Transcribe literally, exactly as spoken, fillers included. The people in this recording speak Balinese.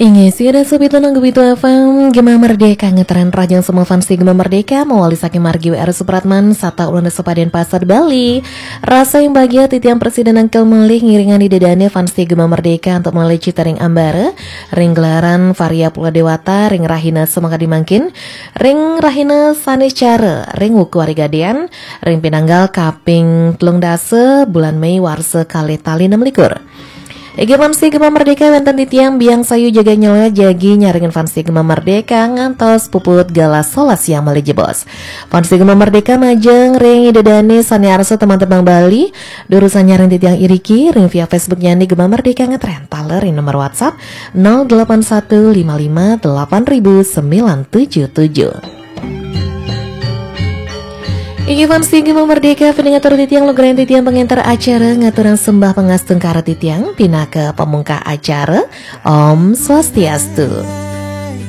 Inggih, sira sobat nang Gebitu F M, Gema Merdeka, ngetren rahajeng semua fans Gema Merdeka, mawali saking margi W R Supratman, sata ulun Desa Paden Pasar Bali. Rasa yang bahagia titiang presiden angkel malih ngiringan ida dane fans Gema Merdeka untuk malih cita ring ambara, ring gelaran Varia Pula Dewata, ring rahina semangka dimangkin, ring rahina Saniscara, ring wuku hari gadean, ring pinanggal kaping telung dasa, bulan Mei warsa kalih tali enam likur. Inggih fans Gema Merdeka, wenten titiang Biang Sayu jaga nyela jagi nyarengin fans Gema Merdeka ngantos puput galah solas siang malih jebos. Fans Gema Merdeka majeng ring ida dane sane arsa tembang-tembang Bali, durusang nyarengin titiang iriki ring via Facebook nyane Gema Merdeka ngetren taler ring nomor WhatsApp nol delapan satu lima lima delapan ribu sembilan tujuh tujuh. Inggih fans Gema Merdeka, pinangatur titiang lugrayan titiang pangenter acara, ngaturang sembah pangastungkara titiang, pinaka pamungkah acara. Om Swastiastu.